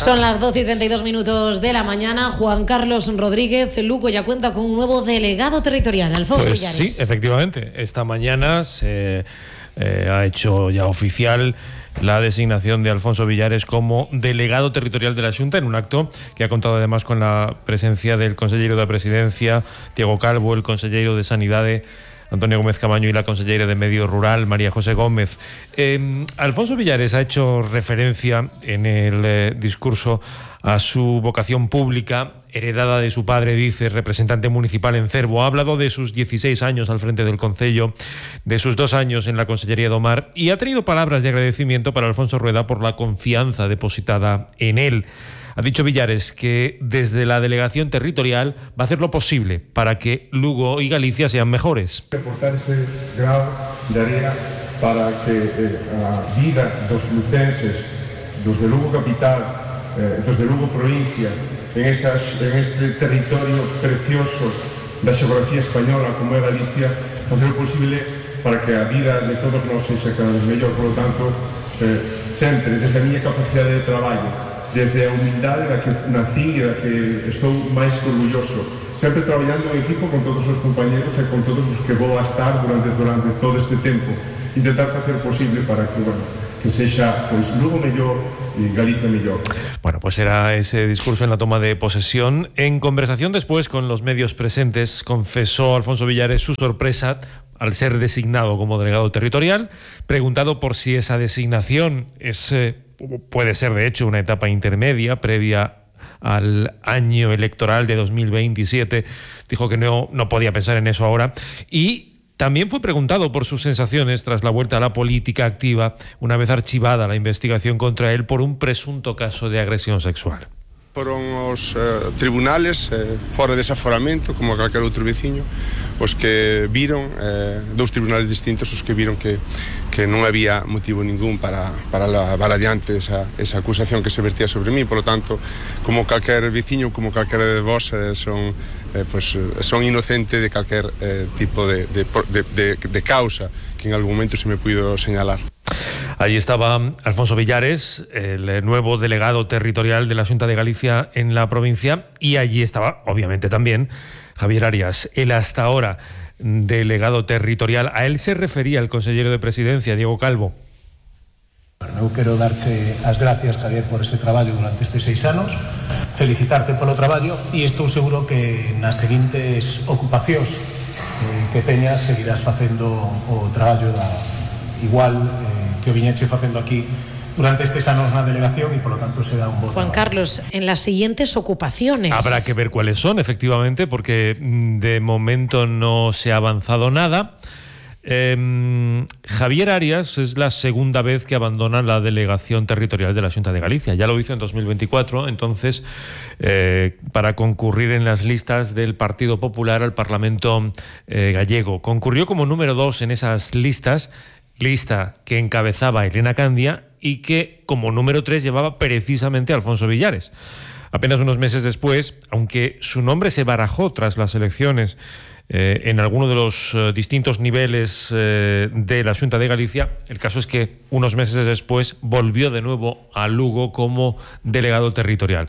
Son las 12:32 de la mañana. Juan Carlos Rodríguez, Lugo ya cuenta con un nuevo delegado territorial, Alfonso Villares. Sí, efectivamente. Esta mañana se ha hecho ya oficial la designación de Alfonso Villares como delegado territorial de la Xunta, en un acto que ha contado además con la presencia del consellero de Presidencia, Diego Calvo, el consellero de Sanidade, Antonio Gómez Camaño, y la consellera de Medio Rural, María José Gómez. Alfonso Villares ha hecho referencia en el discurso a su vocación pública, heredada de su padre, dice, representante municipal en Cervo. Ha hablado de sus 16 años al frente del concello, de sus 2 años en la Consellería do Mar, y ha traído palabras de agradecimiento para Alfonso Rueda por la confianza depositada en él. Ha dicho Villares que desde la delegación territorial va a hacer lo posible para que Lugo y Galicia sean mejores. Aportar ese grado de area para que a vida dos lucenses, dos de Lugo capital, dos de Lugo provincia, en este territorio precioso da xeografía española como é Galicia, facer o posible para que a vida de todos nós sexa cada vez mellor. Por lo tanto, sempre desde a miña capacidade de traballo, desde a humildade da que nací e da que estou máis orgulloso, sempre traballando en equipo con todos os compañeros e con todos os que vou a estar durante todo este tempo, intentar facer posible para que, que sexa pois Lugo mellor y Galicia mellor. Bueno, pues era ese discurso en la toma de posesión. En conversación después con los medios presentes, confesó Alfonso Villares su sorpresa al ser designado como delegado territorial. Preguntado por si esa designación puede ser de hecho una etapa intermedia previa al año electoral de 2027, dijo que no podía pensar en eso ahora. Y también fue preguntado por sus sensaciones tras la vuelta a la política activa, una vez archivada la investigación contra él por un presunto caso de agresión sexual. Foron os tribunales, fora de desaforamento, como calquer outro veciño, os que viron, dous tribunales distintos, os que viron que non había motivo ningún para levar adiante esa acusación que se vertía sobre mí. Por lo tanto, como calquer veciño, como calquer de vos, son inocente de calquer tipo de causa que en algún momento se me puido señalar. Allí estaba Alfonso Villares, el nuevo delegado territorial de la Xunta de Galicia en la provincia, y allí estaba, obviamente, también Javier Arias, el hasta ahora delegado territorial. A él se refería el consellero de Presidencia, Diego Calvo. Eu quero darche as gracias, Javier, por ese traballo durante estes 6 anos, felicitarte polo traballo, e estou seguro que nas seguintes ocupacións que teñas seguirás facendo o traballo igual que o viñeche facendo aquí durante estes anos na delegación, y por lo tanto será un voto. Juan Carlos, en las siguientes ocupaciones. Habrá que ver cuáles son, efectivamente, porque de momento no se ha avanzado nada. Javier Arias es la segunda vez que abandona la delegación territorial de la Xunta de Galicia. Ya lo hizo en 2024, entonces, para concurrir en las listas del Partido Popular al Parlamento gallego. Concurrió como número 2 en esas listas, lista que encabezaba Elena Candia y que como número 3 llevaba precisamente Alfonso Villares. Apenas unos meses después, aunque su nombre se barajó tras las elecciones en alguno de los distintos niveles de la Xunta de Galicia, el caso es que unos meses después volvió de nuevo a Lugo como delegado territorial.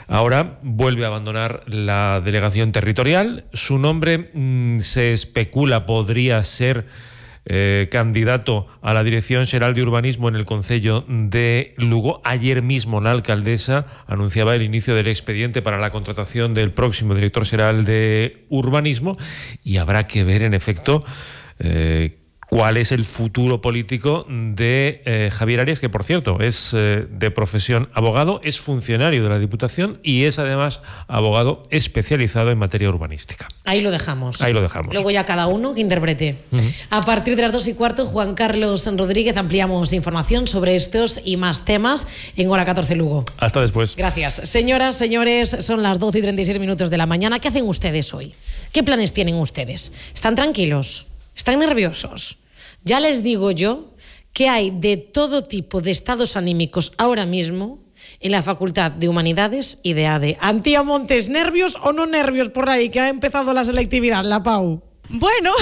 Ahora vuelve a abandonar la delegación territorial. Su nombre se especula podría ser candidato a la Dirección Xeral de Urbanismo en el Concello de Lugo. Ayer mismo la alcaldesa anunciaba el inicio del expediente para la contratación del próximo director xeral de Urbanismo, y habrá que ver, en efecto, cuál es el futuro político de Javier Arias, que por cierto es de profesión abogado, es funcionario de la Diputación y es además abogado especializado en materia urbanística. Ahí lo dejamos. Ahí lo dejamos. Luego ya cada uno que interprete. A partir de las 2:15, Juan Carlos Rodríguez, ampliamos información sobre estos y más temas en Hora 14 Lugo. Hasta después. Gracias. Señoras, señores, son las 12:36 de la mañana. ¿Qué hacen ustedes hoy? ¿Qué planes tienen ustedes? ¿Están tranquilos? ¿Están nerviosos? Ya les digo yo que hay de todo tipo de estados anímicos ahora mismo en la Facultad de Humanidades y de ADE. Antía Montes, ¿nervios o no nervios por ahí que ha empezado la selectividad, la PAU? Bueno,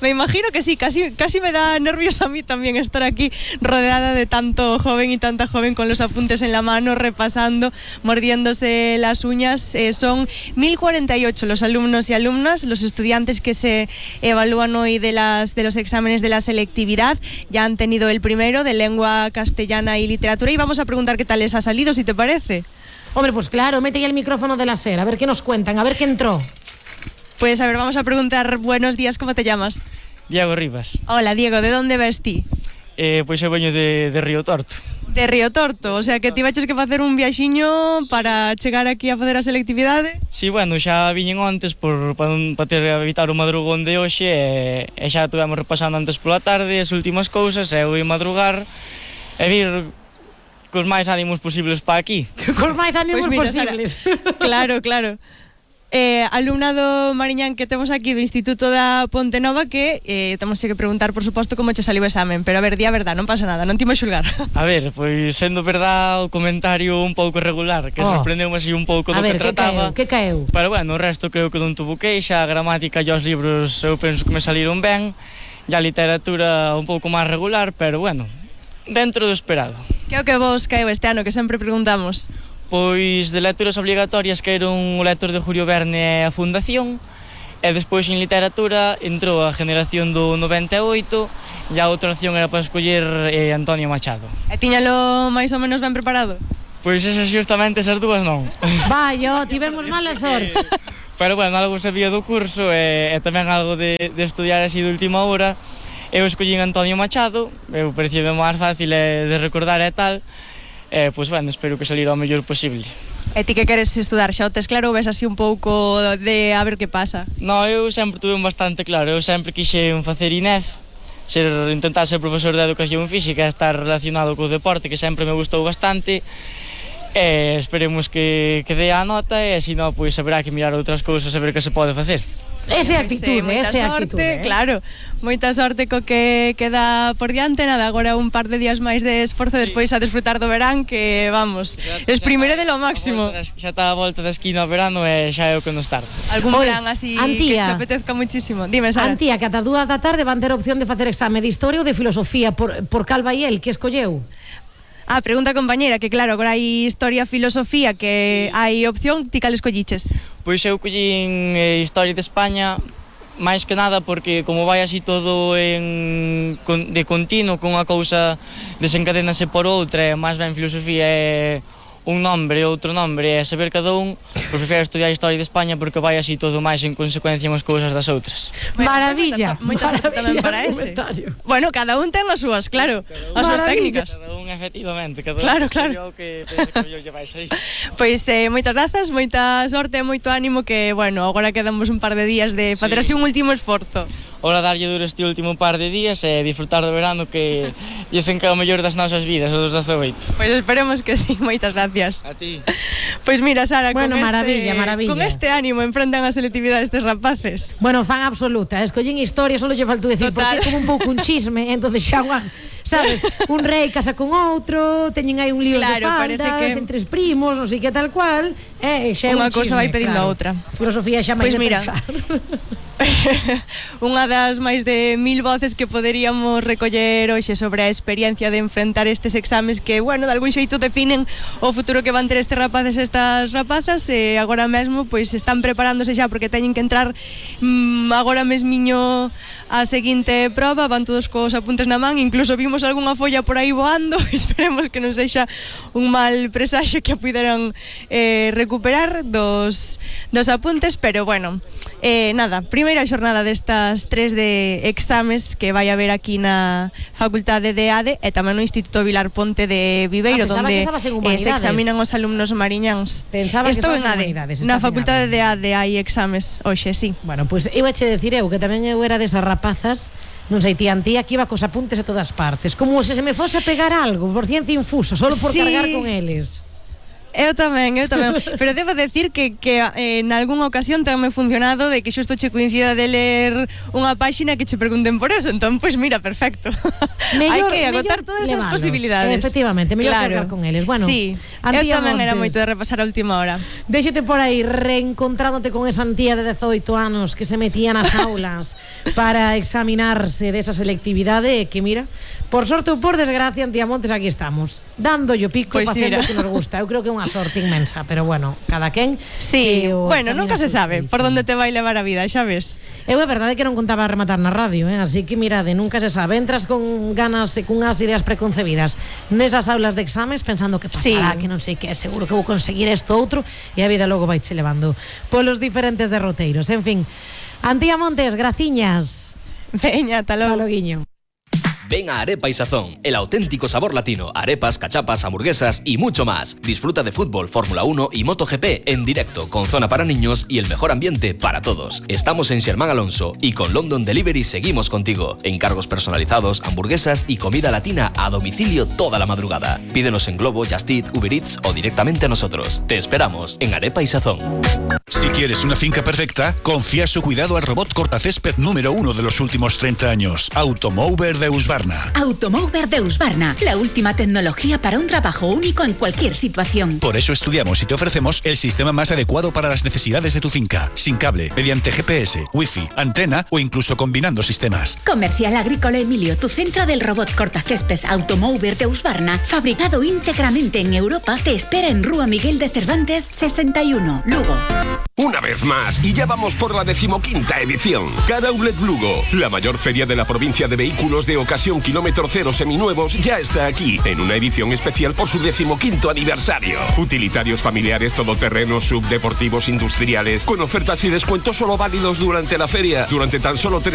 me imagino que sí, casi me da nervios a mí también estar aquí rodeada de tanto joven y tanta joven con los apuntes en la mano, repasando, mordiéndose las uñas. Son 1048 los alumnos y alumnas, los estudiantes que se evalúan hoy de los exámenes de la selectividad. Ya han tenido el primero de lengua castellana y literatura y vamos a preguntar qué tal les ha salido, si te parece. Hombre, pues claro, mete ya el micrófono de la SER, a ver qué nos cuentan, a ver qué entró. Pues a ver, vamos a preguntar, buenos días, ¿cómo te llamas? Diego Rivas. Hola, Diego, de onde ves ti? Pois eu veño de Río Torto. De Río Torto, o sea que ti vaches que facer un viaxiño para chegar aquí a facer a selectividade? Si, bueno, xa viñen antes para ter evitar o madrugón de hoxe e xa tuvemos repasando antes pola tarde as últimas cousas e eu ia madrugar e vir cos máis ánimos posibles para aquí. Cos máis ánimos Pois mira, posibles. Sara, claro. Alumnado mariñán que temos aquí do Instituto da Ponte Nova que temos que preguntar, por suposto, como che saliu o examen, pero a ver, di a verdad, non pasa nada, non te imos xulgar. A ver, pois sendo verdad o comentario un pouco irregular, que sorprendeume así un pouco do que trataba. Que caeu? Pero bueno, o resto creo que non tuvo queixa, a gramática e os libros eu penso que me saliron ben, e a literatura un pouco máis regular, pero bueno, dentro do esperado. Que é o que vos caeu este ano, que sempre preguntamos? Pois de lecturas obligatorias caeron o lector de Julio Verne e a Fundación e despois en literatura entrou a generación do 98 e a outra opción era para escoller Antonio Machado. E tiñalo máis ou menos ben preparado? Pois esas xustamente esas dúas non. Vai, tivemos mala sorte. Pero bueno, algo sabía do curso e tamén algo de estudiar así de última hora. Eu escollín Antonio Machado, eu parecía máis fácil de recordar e tal. Pois bueno, espero que salir o mellor posible. E ti que queres estudar, xa o tes claro ou ves así un pouco de a ver que pasa? No, eu sempre tuve bastante claro, eu sempre quixen facer INEF, intentar ser profesor de educación física, estar relacionado co deporte, que sempre me gustou bastante, e esperemos que dé a nota, e se non, pois haberá que mirar outras cousas a ver que se pode facer. Esa actitude, claro, moita sorte co que queda por diante, nada, agora un par de días máis de esforzo, despois a desfrutar do verán, que vamos, exprimiré de lo máximo. Xa está a volta da esquina o verano e xa é o que nos tarda. Algún verán así que te apetezca muchísimo. Dime, Sara. Antía, que ata as 2 da tarde van ter opción de facer exame de historia ou de filosofía por cal vai el, que escolleu? Pregunta compañera, que claro, agora hai historia, filosofía, que hai opción, ti cal escolliches? Pois eu collín Historia de España, máis que nada porque como vai así todo de continuo, con unha cousa desencadenase por outra, e máis ben filosofía é un nombre, outro nombre, e saber cada un, pois prefiro estudiar Historia de España porque vai así todo máis en consecuencia unhas cousas das outras. Maravilla, moita sorte tamén para ese. Bueno, cada un ten as súas, claro, as súas técnicas. Cada un, efectivamente, cada claro, un claro. que pensa que yo lle vais aí. Pois moitas grazas, moita sorte e moito ánimo, que, bueno, agora quedamos un par de días de facer así un último esforzo. Ora darlle duro este último par de días e disfrutar do verano, que dicen que é o mellor das nosas vidas, o dos 18. Pois esperemos que sí, moitas gracias. A ti. Pois mira, Sara, bueno, maravilla. Con este ánimo enfrentan a selectividade estes rapaces. Bueno, fan absoluta, escollen historia, só lle faltou decir, porque é como un pouco un chisme, entonces xa, sabes, un rei casa con outro, teñen aí un lío de faldas, entre primos, non sei que tal cual, xa é unha un cousa vai pedindo a outra. Filosofía xa máis de pensar. Unha das máis de 1000 voces que poderíamos recoller hoxe sobre a experiencia de enfrentar estes exames que, bueno, de algún xeito definen o futuro que van ter estes rapaces e estas rapazas, e agora mesmo pois están preparándose xa porque teñen que entrar agora mesmiño a seguinte proba, van todos cos apuntes na man, incluso vimos algunha folla por aí voando, esperemos que non sexa un mal presaxo que a puderan recuperar dos apuntes, pero bueno, nada, primeira xornada destas 3 de exames que vai haber aquí na Facultade de ADE e tamén no Instituto Vilar Ponte de Viveiro, donde se examinan os alumnos mariñáns. Estou en ADE, na Facultade de ADE hai exames hoxe, sí. Bueno, pois eu eche decir eu que tamén eu era desas rapazas, non sei, tía que iba cos apuntes a todas partes, como se me fose a pegar algo por ciencia infusa, solo por cargar con eles. Eu tamén. Pero debo decir que en algunha ocasión tamén me funcionado de que xusto che coincida de ler unha páxina que che pregunten por eso. Entón, pois mira, perfecto. Hai que agotar todas as posibilidades. Efectivamente, mellor hablar con eles. Bueno, sí, eu tamén era moito de repasar a última hora. Déxete por aí reencontrándote con esa tía de 18 anos que se metía nas aulas para examinarse desa selectividade que mira, por sorte ou por desgracia, Antía Montes, aquí estamos, dando yo pico, pues facendo o que nos gusta. Eu creo que é unha sorte inmensa, pero bueno, cada quen. Sí, bueno, nunca se sabe por onde te vai levar a vida, xa ves. Eu é verdade que non contaba a rematar na radio, así que mirade, nunca se sabe. Entras con ganas e cunhas ideas preconcebidas nesas aulas de exames pensando que pasará, que non sei que, seguro que vou conseguir isto outro, e a vida logo vai che levando polos diferentes derroteiros. En fin, Antía Montes, graciñas. Veña, ata logo. Guiño. Ven a Arepa y Sazón, el auténtico sabor latino, arepas, cachapas, hamburguesas y mucho más. Disfruta de fútbol, Fórmula 1 y MotoGP en directo, con zona para niños y el mejor ambiente para todos. Estamos en Xermán Alonso y con London Delivery seguimos contigo. Encargos personalizados, hamburguesas y comida latina a domicilio toda la madrugada. Pídenos en Globo, Just Eat, Uber Eats o directamente a nosotros. Te esperamos en Arepa y Sazón. Si quieres una finca perfecta, confía su cuidado al robot cortacésped número 1 de los últimos 30 años, Automower de Husqvarna. Automower de Husqvarna, la última tecnología para un trabajo único en cualquier situación. Por eso estudiamos y te ofrecemos el sistema más adecuado para las necesidades de tu finca, sin cable, mediante GPS, Wi-Fi, antena o incluso combinando sistemas. Comercial Agrícola Emilio, tu centro del robot cortacésped Automower de Husqvarna, fabricado íntegramente en Europa, te espera en Rúa Miguel de Cervantes 61, Lugo. Una vez más, y ya vamos por la 15ª edición. Car Outlet Lugo, la mayor feria de la provincia de vehículos de ocasión kilómetro cero seminuevos, ya está aquí, en una edición especial por su 15º aniversario. Utilitarios familiares, todoterrenos, subdeportivos, industriales, con ofertas y descuentos solo válidos durante la feria. Durante tan solo 3